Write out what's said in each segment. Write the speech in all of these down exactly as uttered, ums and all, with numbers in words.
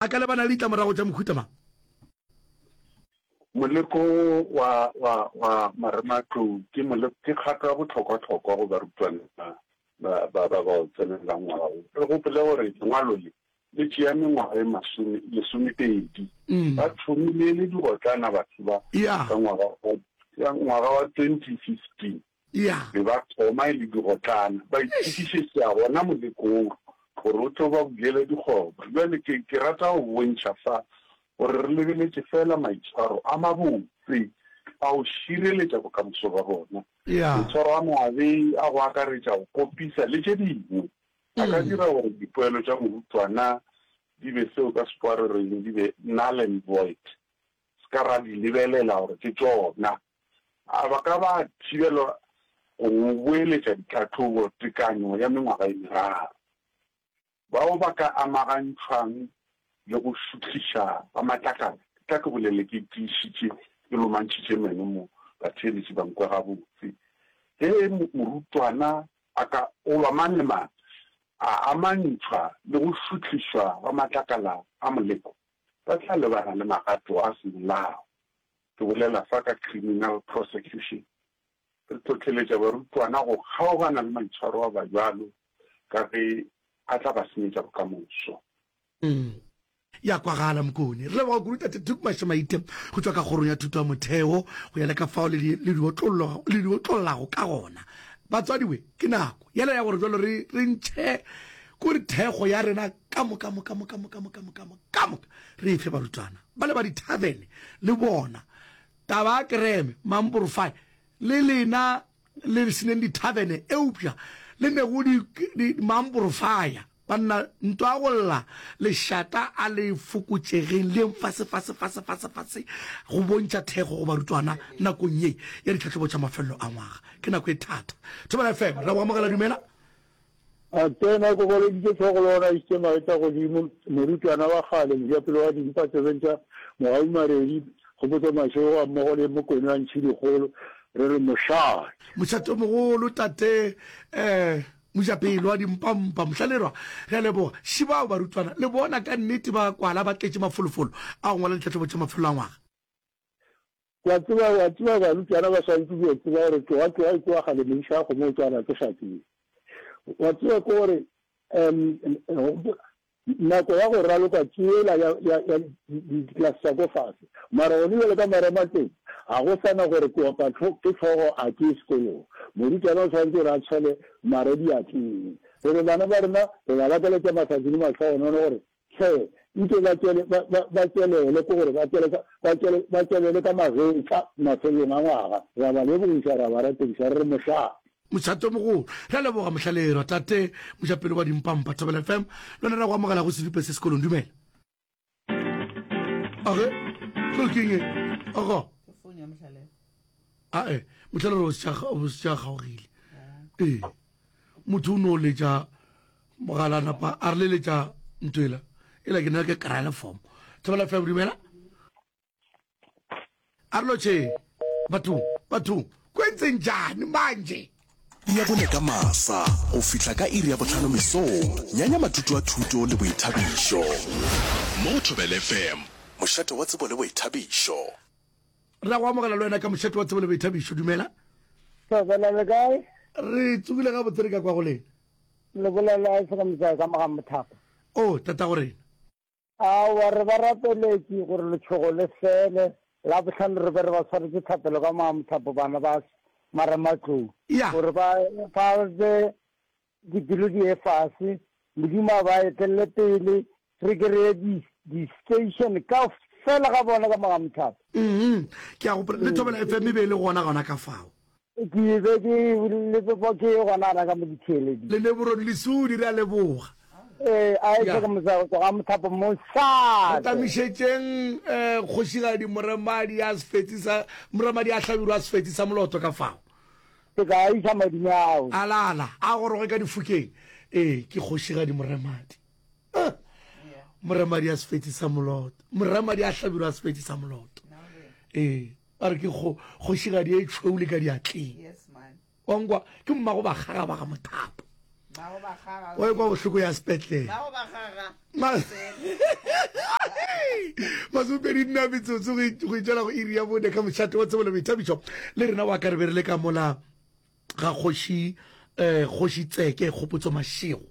A ka lebana le ditlamorago tša mohuta mang? Moleko wa, wa, wa marematlou ke mole, ke kgato ya bohlokwahlokwa go barutwana ba, ba, ba, ba bao tsenelang ngwaga wo. Re gopole gore lengwalo le le tšea mengwaga e masome, lesomepedi. Ba thomile e le digotlana batho ba ka ngwaga wa, ka ngwaga wa twenty fifteen. Be ba thoma e le digotlana, ba itokišetša gona moleko wo gore o tlo ba bulela dikgoba. Bjale ke, ke rata go bontšha fa gore re lebeletše feela maitshwaro a mabotse a go šireletša bokamoso bja bona. Maitshwaro a mabe a go akaretša go kopisa le tše dingwe a ka dira gore dipoelo tša morutwana di be seo ka Sekgowa re reng di be null and void, se ka ra di lebelela gore ke tšona. A ba ka ba thibelwa go boeletša ditlhahlobo tekanyo ya mengwaga e meraro? Bao ba ka amagantšhwang le go šuthiša ga matlakala, ke tla ke bolele ke tiišitše, ke lomantšhitše meno mo, batheeletši ba nkwe gabotse. Ge morutwana a ka, goba mang le mang, a amantšhwa le go šuthišwa ga matlakala a moleko, ba tla lebana le magato a semolao. Ke bolela fa ka criminal prosecution. Re hlohleletša barutwana go kgaogana le maitshwaro a bajalo ka ge a tla ba senyetša bokamoso. Ya kwagala Mokone. Re leboga kudu Tate Tuku Mashamaite go tšwa ka Kgorong ya Thuto ya Motheo go ya le ka fao le di, le di otlollo, le di otlollago ka gona. Batswadi we, ke nako yela ya gore jwalo re, re ntšhe kore thekgo ya rena ka moka, moka, moka, moka, moka, moka, moka, ka moka re e fe barutwana ba le ba dithavene le bona. Taba ya kereme, mamporofai, le lena le seneng dithavene eupša le nego di, di, mamporofaya. Banna, ntwa ya go lla lešata a le fokotšegeng, le yeng fase, fase, fase, fase, fase, go bontšha thekgo go barutwana nakong ye ya ditlhahlobo tša mafelelo a ngwaga. Ke nako e thata. Thobela F M, re a go amogela, dumela. A tsena, ke goleditše hlogo le gona išitše magetla godimo, morutwana wa kgale, mojapelo wa dimpa tsebeng tša Mogau Maredi, Kgopotso Mašego gammogo le Mokone wa Ntšhidikgolo, re re mošate. Mošate o mogolo, tate, eh, mojapelo wa dimpampa, Mohlalelwa, re a leboga. Šibao barutwana, le bona ka nnete ba kwala ba tletše mafolofolo a go ngwala ditlhahlobo tša mafelelo a ngwaga. Wa tseba, wa tseba barutwana ba swanetše go tseba gore tloga tloga e tloga kgale modiša wa kgomo o tswalwa ke šakeng. Wa tseba ke gore um nako ya go raloka ke yela ya, ya, ya diklase tša ko fase. Mara gone bjale ka marematlou ga go sa na gore ke opa ke hlogo a ke ye sekolong. Morutwana o swanetše gore a tshwele mare diatleng. Re re bana ba rena re ba lakaletša mahlatse le mahlogonono gore Hle, nke ba tšwele, ba, ba, ba tšwelele, ke gore ba tšwele ka, ba tšwele, ba tšwelele ka magetla mafelelong a ngwaga. Re a ba lebogiša, re a ba ratediša, re re mošate. Mošate o mogolo. Re a leboga Mohlalerwa, Tate Mojapelo wa Dimpampa, Thobela F M, le wena re a go amogela go Sedupe se sekolong. Dumela. Age, tlo ke eng e? Ogo. Ke phone ya Mohlalerwa. Ae, Mohlalerwa o se tša, o se tša kgaogile. Ee. Motho o no letša mogala napa a re leletša ntho ela ela ke nna ke kry le form. Thobela F M, dumela. A re lotšhe bathong, bathong kwentseng jani manje? Ya bone ka masa go fihla ka iri ya bohlano mesong, nyanya matuto a thuto le boithabišo. Mo go Thobela F M, mošate wa tsebo le boithabišo. Re a go amogela le wena ka mošate wa tsebo le boithabišo. Dumela. Thobela, le kae? Re tsogile gabotse, re ka kwa go lena. Le bolela Isaka Motsae ka mo ga Mothapo. Oh, tatago rena. Aowa, re ba rapeletše gore letšhogo le fele. Labohlano re be re ba swaretše thapelo ka mo ga Mothapo bana ba Marematlou. Ya. Gore ba, ba be dipelo di ye fase, Modimo a ba etelele pele, re ke re ye di, di station ka fela ga bona ka mo ga Mothapo. Mm-hmm. Ke a gopola, le Thobela F M e be e le gona gona ka fao. Ke be ke le ke gona gona ka mo ditheeleding. Le Neborone Lesudi, re a leboga. Ee, a e tle ka motsa ga Mothapo mosate. Re tamišetšeng eh, kgošigadi Moremadi a sefetsi sa Moremadi a Hlabirwa a sefetsi sa moloto ka fao. Ke tla iša madume ao. A lala, a goroge ka difokeng. Ee, ke kgošigadi Moremadi. Ah, Moremadi a sefetsi sa moloto. Moremadi a Hlabirwa a sefetsi sa moloto. Ee, ba re ke kgošigadi e tšhweu le ka diatleng. Wa nkwa, ke mmago bakgaga ba ga Mothapo. Wa ekwa bohloko ya sepetlele. Masomepedi nna metsotso go itšwela go iri ya bone ka mošate wa tsebo le boithabišo le rena wa ka re be re le ka mola ga kgoši um kgoši Tseke Kgopotso Mashego.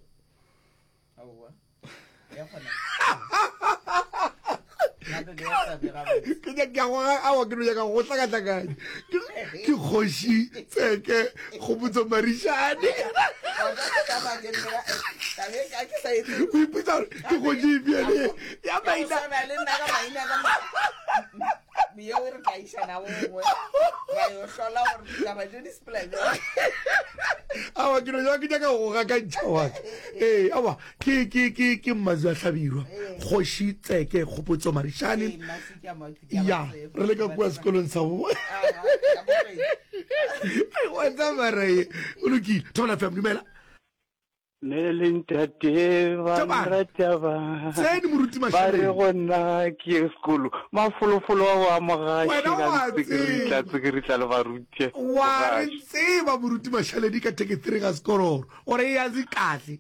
Ke nyaka go awa ke no nyaka go hlakahlakanya. Ke kgoši Tseke Kgopotso Marišane. O ipotsa gore ke kgoši efe ene ya maina. Awa ke no nyaka ke nyaka go gakantšha wa ka. Ee awa ke ke ke ke Mmazi wa Hlabirwa kgoši Tseke Kgopotso Marišane. Ya re le ka kua sekolong sa bo. Wa tsamaya ye o lokile. Thobela F M dumela. Mme le ntate ba nrata ba Tsene moruti ba re Mashaleng. go nna ke ye sekolo mafolofolo a go amogaše Wena ka wa ntsekeritla tseba. tsekeritla le baruti Wa re bogaše. tseba moruti Mashaledi ka thekethree ga sekororo gore e ya se kahle.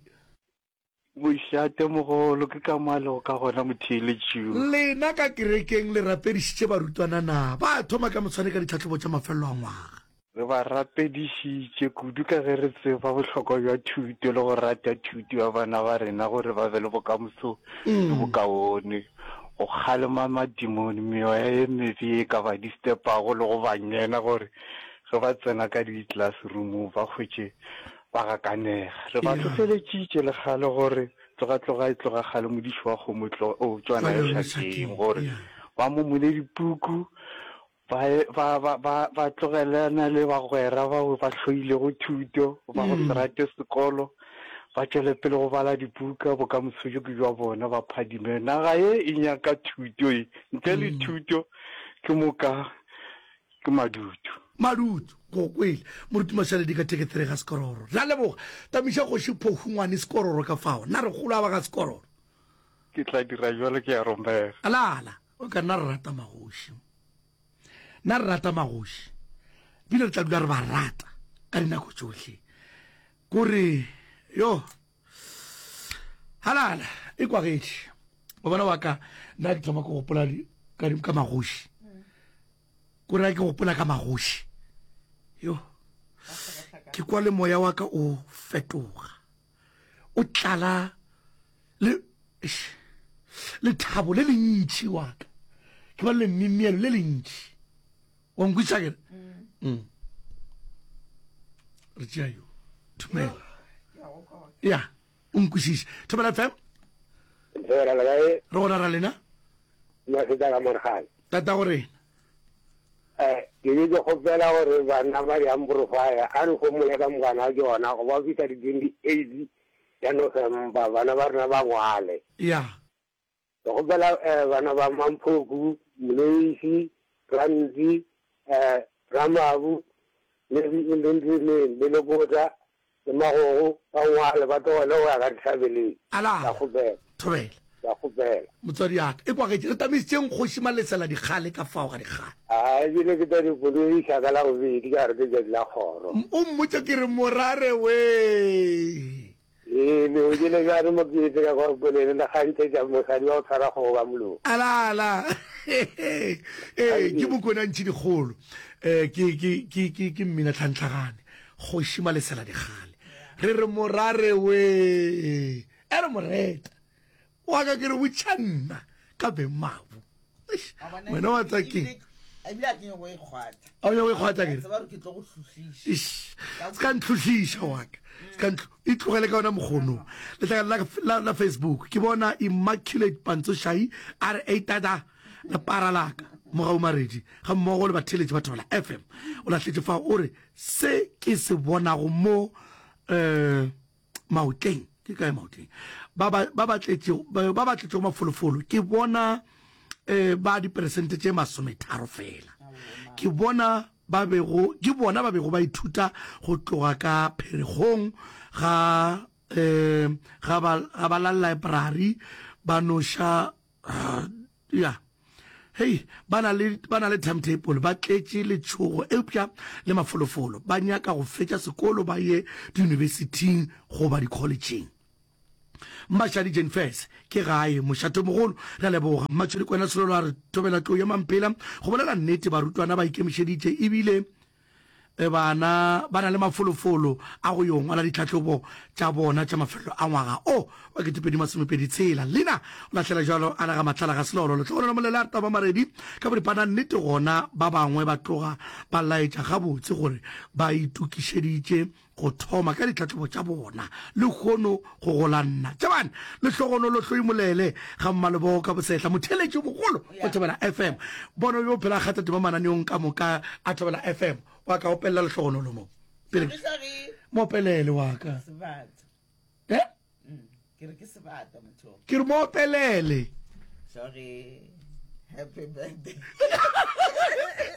Mošate mogolo ke ka mo a lego ka gona motheeletši yo. Lena ka kerekeng le rapedišitše barutwana na? Ba thoma ka moswane ka ditlhahlobo tša mafelelo a ngwaga. Re ba rapedišitše kudu ka ge re tseba bohlokwa bja thuto le go rata thuto ya bana ba rena gore ba be le bokamoso bjo bokaone. Go kgalema mademone, meoya ye mebe ye e ka ba distepago le go ba nyena gore ge ba tsena ka di-classroomong ba hwetše ba gakanega. Re ba hlohleletšitše le kgale gore tloga tloga e tloga kgale modiši wa kgomo e tloga o tšwana ya šakeng gore ba momole dipuku ba ba ba ba ba tlogelana le bagwera bao ba hloilego thuto, ba go se rate sekolo, ba tšwele pele go bala dibuka, bokamoso bjo ke bja bona, ba phadime. Naga ye e nyaka thuto ye, ntle le thuto ke moka ke madutu. Madutu, go kwele. Moruti Mašaledi ka thekethere ga Sekororo. Ra leboga. Tamiša Kgoši Phohungwane Sekororo ka fao. Na re kgolo a ba ga Sekororo. Ke tla dira bjalo, ke a romela. Alala, o ka nna re rata magoši. Nna re rata magoši. Ebile re tla dula re ba rata ka dinako tšohle. Kore, yo, halala, e kwagetše. O bona wa ka, nna ke thoma ke gopola ka, ka magoši. Kore ke gopola ka magoši. Yo, ke kwa le moya wa ka o fetoga. O tlala le, lethabo le lentši wa ka. Ke ba le mimielo le lentši. Wa nkweša ke re? Mm. Re tšea yo. Thumela. Ya, o nkwešiše. Thobela F M. Thobela le kae? Re gona ra lena. Maseta ka Morgane. Tata go rena. Eh, ke be ke kgopela gore bana ba di-amplifier a re homole ka mokana ga tšona go ba fihla di-twenty-eight ya November bana ba rena ba ngwale. Ya. Ke kgopela eh, bana ba Mamphoku, Moloisi, Rantsi, eh, Ramabu, le le le le Lekotla, le Magogo, ba ngwale ba tlogele go ya ka dihlabeleng. Ala. Ke a kgopela. Thobela. Ke a kgopela. Motswadi ya ka, e kwagetše, re tamišitšeng kgoši Malesela dikgale ka fao ga dikgale. A, ebile ke tla di boloiša ka la bobedi ka gore ke tšatši la kgoro. O mmotše ke re morare wee. Ee, le o jele bjang mo ke etse ka kwa polelo le kgantšhetša mosadi wa go tshwara kgogo ka molomo. Ala, ala. Ee, ke Mokone a ntšhi dikgolo. Eh, ke, ke, ke, ke, ke mmina tlhantlhagane. Kgoši Malesela dikgale. Re re morare wee. E re moreta. Wa ka ke re botša nna ka beng mabu. Wena wa tsa keng? Ebile a ke nyako e kgwatha. A o nyako e kgwatha ke? Tseba gore ke tlo go hlohliša. Eish, se ka ntlhohliša wa ka. Se ka ntlo, e tlogele ka yona mokgono. Letlakala la, la, la Facebook, ke bona Immaculate Pantsošai a re, Ei tata, lepara la ka, Mogau Maredi, ga mmogo le batheeletši ba Thobela F M. O lahletše fao, o re, se ke se bonago mo, eh, maotleng, ke kae maotleng? Ba ba, ba ba tletšego, ba, ba ba tletšego mafolofolo, ke bona, eh, ba diperesente tše masometharo fela. Ke bona ba bego, ke bona ba bego ba ithuta go tloga ka pheregong ga, eh, ga ba, ga ba la library, ba noša, ya. Hei, ba na le, ba na le timetable, ba tletše letšhogo eupša le mafolofolo, ba nyaka go fetša sekolo ba ye diyunibesithing goba dikholetšheng. Mmašadi Jenfes ke gae mošatomogolo. Re a leboga. Mmatšhodi Kwena Selolo a re thobela tlou ya Mampela. Go bolela nnete barutwana ba ikemišeditše ebile bana ba na le mafolofolo a go yo ngwala ditlhahlobo tša bona tša mafelelo a ngwaga o wa ketepedi masomepedi tshela. Lina o lahlela jalo a le ga Matlala ga Selolo. Lehlogonolo Molele a re taba Maredi ka boripana nnete gona ba bangwe ba tloga ba laetša gabotse gore ba itokišeditše go thoma ka ditlhahlobo tša bona lehono go gola nna tšabane lehlogonolo hloimolele ga mmalebogo ka bosehla motheeletši mogolo wa Thobela F M bono yo phela kgatha tema mananeong ka moka a Thobela F M wa ka opelela lehlogonolo mo pele mo opelele wa ka eh ke re ke sebata motho ke re mo opelele sorry happy birthday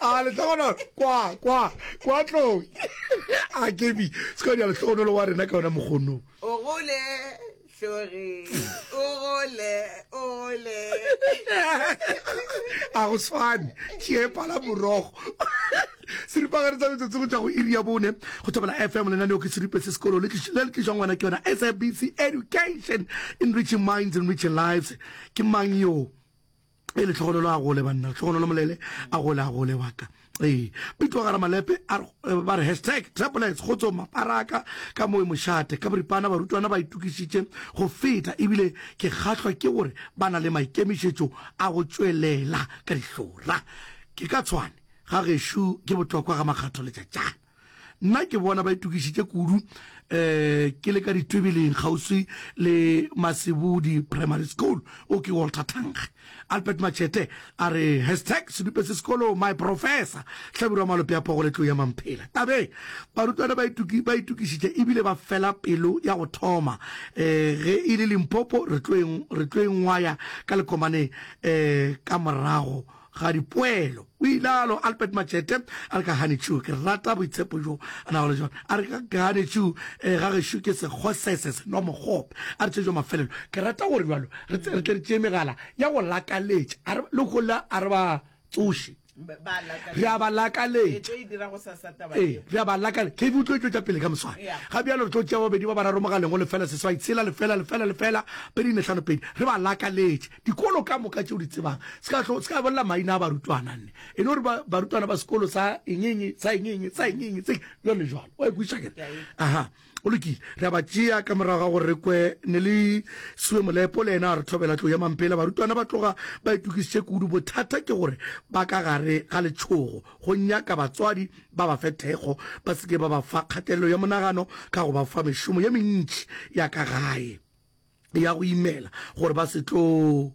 a lehlogonolo kwa kwa kwa tlou a kebi se ka dia lehlogonolo wa rena ka yona mokgono o gole hlori o gole o gole a go swane tšee pala morogo seripagare sa metsotso go tšwa go iri ya bone go Thobela F M lenaneo ke seripe se sekolo le le tlišwa ngwana ke yona S A B C Education enriching minds enriching lives ke mang yo e lehlogonolo a gole banna lehlogonolo molele a gole a gole waka ee pitwa gara malepe a ba re hashtag triplets go tsoma paraka ka moe mošate ka boripana barutwana ba itokišitše go feta ebile ke kgahlwa ke gore ba na le maikemišetšo a go tšwelela ka dihlora ke ka tshwane ga gešo ke bohlokwa ga makgatho letšatšana nna ke bona ba itokišitše kudu eh ke le ka ditwebeleng kgauswi le Masebudi Primary School o ke Walter Thankge Albert Machete a re hashtag sedupe se sekolo my professor Hlabirwa Malope a pogo le tlou ya Mamphela tabeng barutwana ba ituki ba itokišitše ebile ba fela pelo ya go thoma eh ge e le Limpopo re tlo re tlo engwaya ka lekomane eh ka morago ga dipoelo o ilalo Albert Machete a re ka Honeydew ke rata boitshepo jo a nago le jona a re ka Honeydew eh, ga gešo ke sekgosese se nwa mogope a re tšejo mafelelo ke rata gore bjalo re tle re tšee megala ya go lakaletša a re le gola a re ba tsoše re a ba lakaletša ee re a ba lakaletša K V o tlo e tšwetša pele ka moswane ga bjalo re tlo tšea babedi ba bararo mogaleng go lefela seswai tshela lefela lefela lefela pedi nne hlano pedi re ba lakaletše dikolo ka moka tšeo di tsebang se ka se ka bolela maina a barutwana nne e no re barutwana ba sekolo sa eng eng sa eng eng sa eng eng se jalo le jalo wa ikweša kere aha o lokile re a ba tšea ka morago ga gore re kwe ne le siwe molepo le yena a re thobela tlo ya mampela barutwana ba tloga ba itokišitše kudu bothata ke gore ba ka gare ga letšhogo go nyaka batswadi ba ba fe thekgo ba se ke ba ba fa kgatelelo ya monagano ka go ba fa mešomo ye mentši ya ka gae ya go imela gore ba se tlo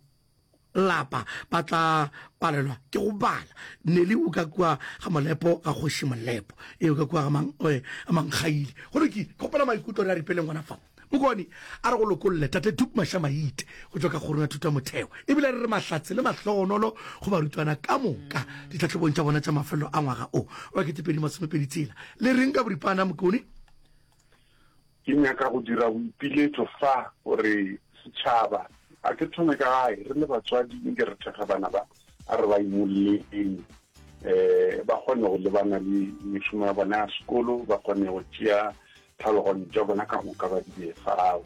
lapa ba tla palelwa ke go bala Nelly o ka kua ga Molepo ga kgoši Molepo e o ka kua ga mang eh, Mankgaile go lokile ke kgopela maikutlo re a ripeleng gona fa Mokone a re go lokolle tate Tuku Mašamaite go tšwa ka kgorong ya thuto ya motheo ebile re re mahlatse le mahlogonolo go barutwana ka moka ditlhahlobong tša bona tša mafelelo a ngwaga o wa ketepedi masomepedi tshela le reng ka boripana Mokone? Ke nyaka go dira boipiletšo fa gore setšhaba, a ke thome ka gae, re le batswadi nke re thekge bana ba, a re ba imolleng um ba kgone go lebana le mešomo ya bona ya sekolo, ba kgone go tšea tlhaloganyo tša bona ka moka ba di bee fao.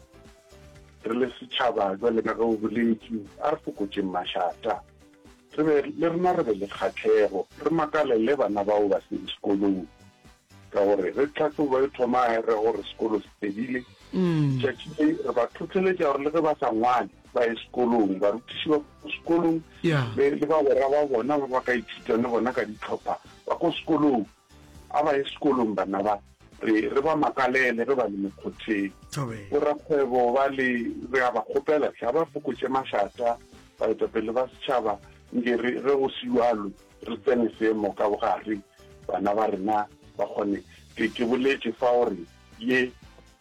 Re le setšhaba, bjale ka ge o boletše, a re fokotšeng mašata, re be le rena re be le kgahlego, re makalele bana bao ba seng sekolong. Ka gore ge tlhahlobo e thoma re gore sekolo se fedile, letšatši le re ba tlhohleletša gore le ge ba sa ngwale ba ye sekolong, barutiši ba ko sekolong le le bagwera ba bona ba ba ka ithutang le bona ka dihlopha ba ko sekolong, a ba ye sekolong bana ba, re re ba makalele ge ba le mekgotheng. Borakgwebo ba le re a ba kgopela hle a ba fokotše mašata, baetapele ba setšhaba nke re ge go se bjalo re tsene seemo ka bogare, bana ba rena ba kgone. Ke, ke boletše fa gore ye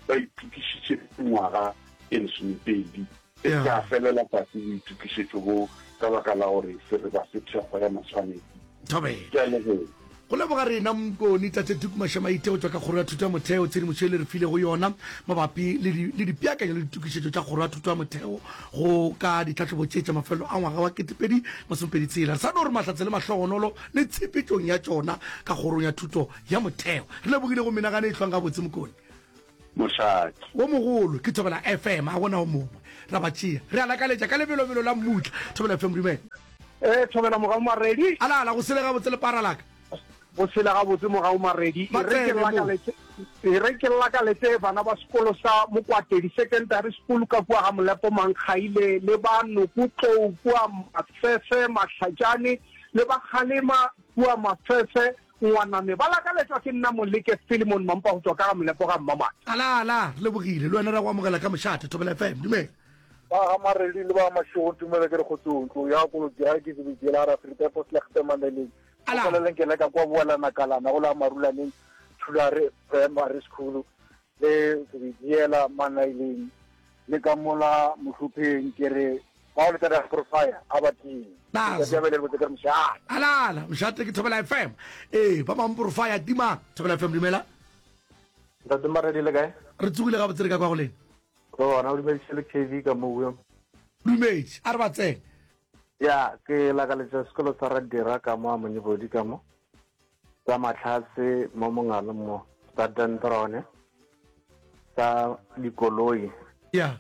ba itokišitše mengwaga e lesomepedi. E se ka felela fase boitokišetšo bo ka baka la gore se re ba fe thekgo ya maswanedi. Thobela. Ke a leboga. Go leboga rena Mkoni, Tate Tuku Mashamaite go tšwa ka Kgoro ya Thuto ya Motheo tshedimošo ye le re filego yona mabapi le di, le dipeakanyo le ditokišetšo tša Kgoro ya Thuto ya Motheo go ka ditlhahlobo tše tša mafelelo a ngwaga wa ketepedi masomepedi tshela. Re sa no re mahlatse le mahlogonolo le tshepetšong ya tšona ka Kgorong ya Thuto ya Motheo. Re lebogile go menagano e hlwang gabotse Mokoni. Mošate. Wo mogolo ke Thobela F M, ga gona o mongwe. Ra ba tšea. Re a lakaletša ka lebelobelo la mmutla. Thobela F M, dumela. Ee, Thobela Mogau Maredi. Ala, ala, go sele gabotse lepara la ka. Go sele gabotse Mogau Maredi. Ba E re ke tsene mo. lakaletse, e re ke lakaletse bana ba sekolo sa Mokwatedi Secondary School ka kua ga Molepo Mankgaile, le ba Nokotlou kua Mafefe Mahlatšane, le ba Kgalema kua Mafefe Ngwaname. Ba lakaletšwa ke nna Moleke Philemon Mampa go tšwa ka ga Molepo ga Mmamata. Ala, ala, re lebogile. Le wena ra go amogela ka mošate. Thobela F M, dumela. Ba ga Maredi le ba Mašego, tumelo ke re kgotsong. Ntlo ya kolotsi ga ke tsebe jela ra Afrika po slegte maneleng. Ala. Go leng ke leka kwa boelana kalana go la marulaneng Thulare Primary School le Sebidiela Manaileng le ka mola Mohlopheng ke re ba o le tla profile a ba teng. Nazo. Ke tla le botse ke re mošate. Ala, ala, mošate ke Thobela F M. Ee, ba bang profile tima. Thobela F M, dumela. Ntate Maredi le kae? Re tsogile gabotse re ka kwa go lena. Re gona, o dumeditše le K V ka mo bua. Dumeditše, a re ba tsene. Ya, ke lakaletša sekolo sa Radira ka mo a Monyebodi ka mo. Sa Matlhatse mo Mongalo mo, sa Dendrone, sa dikoloi. Ya.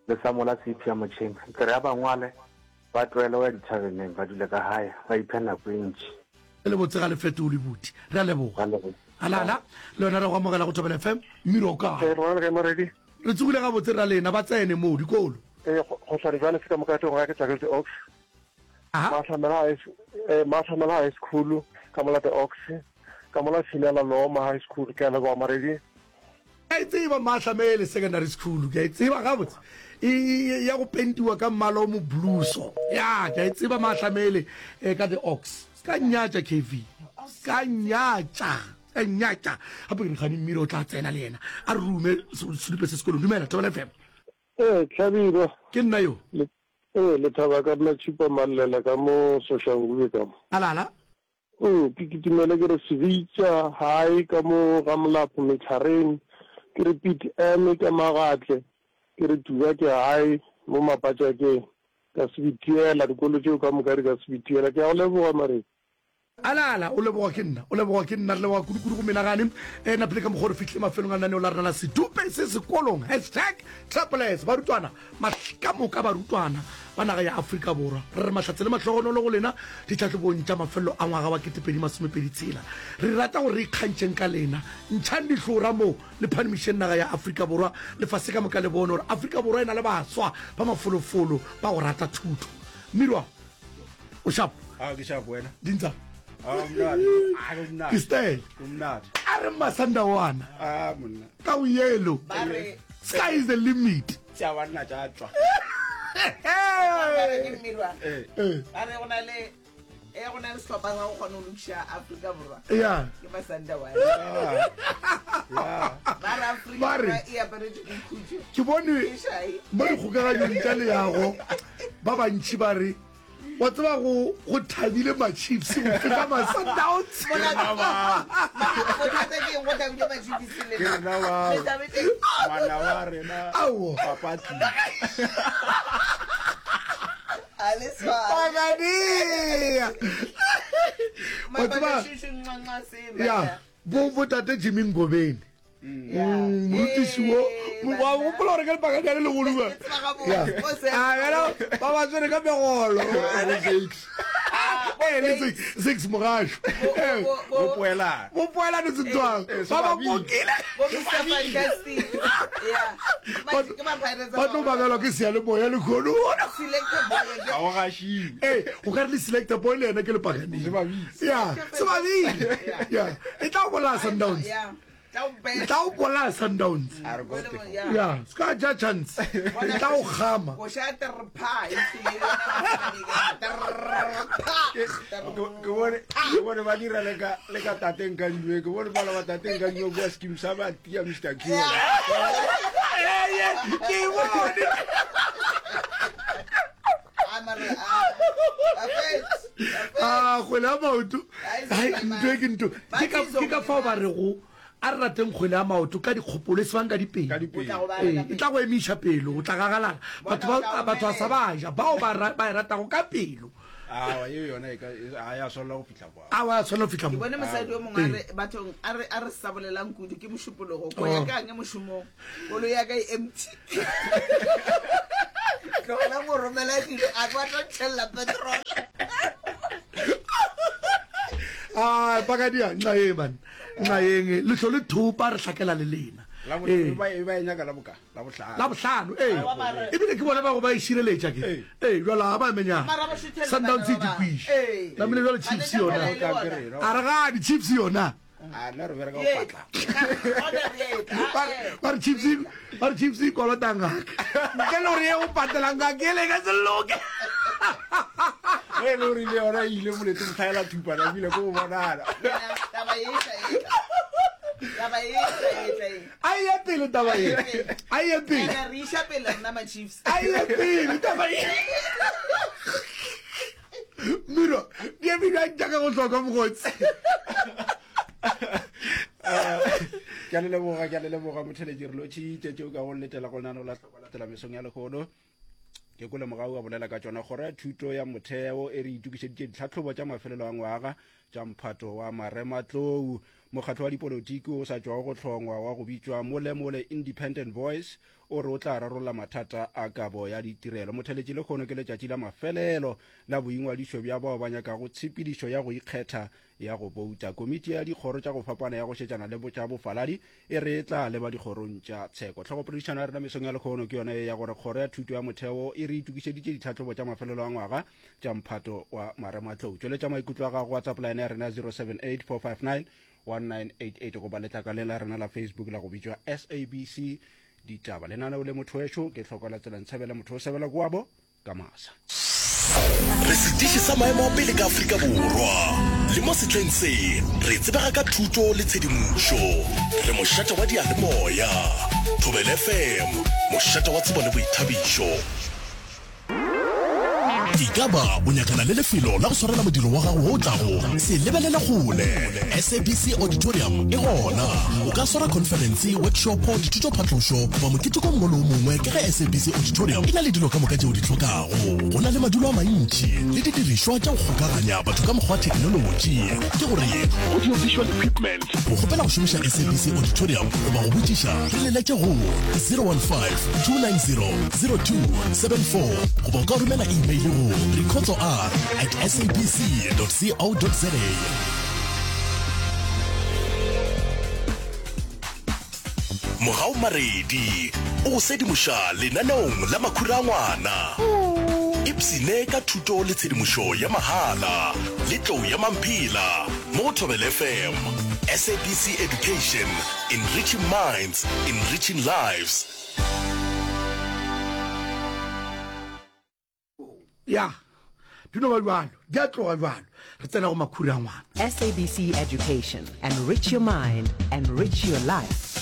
Le sa mola tshipi ya motšheng. Ke re ya bangwale ba tlohele go ya dithabeneng, ba dule ka gae, ba iphe nako e ntši. E le botse ga le fetole buti. Re a leboga. Re a leboga. Ala, ala, le wena re go amogela go Thobela F M. Mmiro o kae? Ee, rona le kae Moredi? Re tsogile gabotse ra lena, ba tsene mo dikolo. Ee, go, go tshwane jwale se ka moka teng ga ke tswa ke The Ox. Aha. Matlhamela High S-, eh, Matlhamela High School, ka mola The Ox, ka mola Tshinela Loma High School, ke a leboga Maredi. Ke a e tseba Matlhamele Secondary School, ke a e tseba gabotse. E, e, ya go pentiwa ka mmala o mo blue so. Ya, ke a e tseba Matlhamele, eh, ka The Ox. Se ka nnyatša K V. Se ka nnyatša. Se ka nnyatša. Gape ke re gane mmino o tla tsena le yena. A re rume sedupe se sekolong. Dumela, Thobela F M. Ee, Hlabirwa. Ke nna yo. Le, ee, Lethaba ka nna Tšhipa Mallela ka mo Soshanguve ka mo. Ala, ala. Mm, ke kitimele ke re Sebitša High ka mo ga Molapo Metlhareng, ke re Piet M ka Magatle, ke re Tuba ke High mo Mapatšakeng. Ka Sebitiela, dikolo tšeo ka moka di ka Sebitiela. Ke a go leboga, Maredi. Ala, ala, o leboga ke nna, o leboga ke nna, re leboga kudu-kudu go menagane. E napile ka mokgwa re fihlile mafelong a lenaneo la rena la Sedupe se Sekolong, hashtag Triple S. Barutwana, mahl-, ka moka barutwana ba naga ya Afrika Borwa, re re mahlatse le mahlogonolo go lena ditlhahlobong tša mafelelo a ngwaga wa ketepedi masomepedi tshela. Re rata gore re ikgantšheng ka lena. Ntšhang dihlora mo le phanimišeng naga ya Afrika Borwa, lefase ka moka le bone gore Afrika Borwa e na le baswa ba mafolofolo ba go rata thuto. Mmirwa, o sharp? Ah, ke sharp wena. Dintsa. Ah, o monate. Ah, o monate. Ke style. O monate. A re Masandawana. Ah, monna. Ka o yellow. Ba re Sky is the limit. Tša banna tša tšwa. Ba re ke mmirwa. Eh. Eh. Ba re go na le, eh, go na le sehlopha sa go kgona go lokiša Afrika Borwa. Yeah. Ke Masandawana. Yeah. Yeah. Ba re Afrika Ba re Borwa e aparetše ke khutšo. Ke bone Ke šai. mo dikgokaganyong tša leago ba bantši ba re wa tseba go, go thabile ma-Chiefs go feta ma-Sundowns. Bothata ke eng go thabile ma-Chiefs le Ke rena bao. Le thabetse eng? Ngwana wa rena, Aowa. papa tlile. A le swane. Pagania. Wa tseba, Mabaka šušu, nxa, nxa, se, ya, bana. bo, bo tate Jimmy Ngobeni. Mm, morutiši wo, wa gopola gore ke lepakanyane le legolo ba? Ya. A, bjalo, ba ba tshwere ka megolo. Eh, le six, six mogašo. Eh, Bo poelane. Bo poelane Setswana. Ba ba kokile. Bo Mister Fantastic. Yeah. Ba ke ba Pirates Ba tlo mamelwa ke seyalemoya lehono. Selector boy. Ga o gašiwe. Eh, o ka re le selector boy le yena ke lepakaneng. Se babile. Ya, se babile. Ya, e tla bolaya Sundowns. Yeah. E tla o bolaya Sundowns. A re go te. Ya, se ka ja chance. E tla o kgama. Go sha ter pha, e tlile le yona masane ke ter pha. Ke bone, ke bone ba dira le ka, le ka tateng ka njuwe. Ke bone ba la ba tateng ka njuwe kwa scheme sa ba tia Mister Q. Ee, ke bone. A mara, a, a fetše, a fetše. Ah, kgwele ya maoto. Ai, Hai, ntho e ke ntho. Ke ka, ke ka fao ba rego a re rateng kgwele ya maoto ka dikgopolo, e se bang ka dipelo. Ka dipelo. O tla go ba Ee, ka e pelo. tla go emiša pelo, o tla gagalala. Batho ba, Bona o tla batho ba sa omelela. ba ja, bao ba ra-, ba e ratago ka pelo. Awa, ye yona e ka a ya swanela go fihla kwa. Awa, ya swanela go fihla Ke mo. bone mosadi yo mongwe a re bathong a re a re sa bolelang kudu ke mošupologo ko ya Oh. ka nge mošomong koloi ya ka e empty tlogelang go romela dilo a ba tlo ntšhelela petrol. A pakadia nxa ye man nxa yeng le hlo le thopa re hlakela le lena. La bo- Ee. ba e ba e nyaka la boka la bohlano. La bohlano ee Aowa, mara- ebile ke bona ba go ba e šireletša ke Ee. ee jalo ga ba emenyana Mara ba šuthela Sundowns e bana ba bang. dikwiše Ee. namile jalo Ba Chiefs letša yona phala e le Ka bona. ke rena. a re gane Chiefs yona. A nna re bereka go Ye. patla. Gona re etla. Ba re- ba re Chiefs e- ba re Chiefs e kolota ngaka ntle le gore ye o patelang ngaka ele e ka se loke. Ge e le gore le yona e ile molete motlhaela thupana ebile ko go bonana. Yena, taba e tla etla. Taba e tla etla e. A ye pele taba ye, a ye pele, Ene re iša pele rena ma-Chiefs. a ye pele taba ye. Miro di eme bjang jaaka go hloka mokgotsi? Ke a le leboga, ke a le leboga motheletši re lotšhitše tšeo ka go letela go lenaneo la hlokwa latela mesong ya lehono. Ke kole mogau a bolela ka tšona kgoro ya thuto ya motheo e re itokišeditše ditlhahlobo tša mafelelo a ngwaga tša mphato wa marematlou. Mokgatlo wa dipolotiki o sa tšwago go hlongwa wa go bitšwa Molemole Independent Voice o re o tla rarolla mathata a kabo ya ditirelo. Motheletši lehono ke letšatši la mafelelo la boingwadišo bja bao ba nyakago tshepedišo ya go ikgetha ya go bouta. Komiti ya dikgoro tša go fapana ya go šetšana le tša bofaladi e re e tla leba dikgorong tša tsheko. Tlhogopoledišano ya rena mesong ya lehono ke yona ye ya gore kgoro ya thuto ya motheo e re itokišeditše ditlhahlobo tša mafelelo a ngwaga tša mphato wa marematlou. Tšweletša maikutlo a gago WhatsApp line ya rena zero seven eight four five nine one nine eight eight goba letlakaleng la rena la Facebook la go bitšwa S A B C Ditaba. Lenaneo le motho wešo ke hloko la tsela ntshebela motho o sebela kwabo ka masa. Re setiši sa maemo a pele ka Afrika Borwa. Le mo sehleng se, re tsebega ka thuto le tshedimošo. Re mošate wa diyalemoya. Thobela F M, mošate wa tsebo le boithabišo. E ka ba o nyakana le lefelo la go swarela modiro wa gago wo o tlago, se lebelele kgole. S A B C Auditorium e gona. O ka swara khonferense, workshopo, dithutophatlošo goba moketeko o mongwe le o mongwe ka ge S A B C Auditorium e na le dilo ka moka tšeo di hlokago. Go na le madulo a mantši le didirišwa tša go kgokaganya batho ka mokgwa wa theknolotši, ke gore audio-visual equipment. Go kgopela go šomiša S A B C Auditorium goba go botšiša, re leletše go zero one five, two nine zero, zero two seven four goba o ka romela email go rikhotso r at s a b c dot co dot za. Mogau Maredi o go sedimoša lenaneong la makhura a ngwana. Ipsene ka thuto le tshedimošo ya mahala le tlou ya mamphela mo go Thobela F M. S A B C Education, enriching minds, enriching lives. Ya, di no ba bjalo, di a tloga bjalo. Re tsena go makhura a ngwana. S A B C Education, enrich your mind, enrich your life.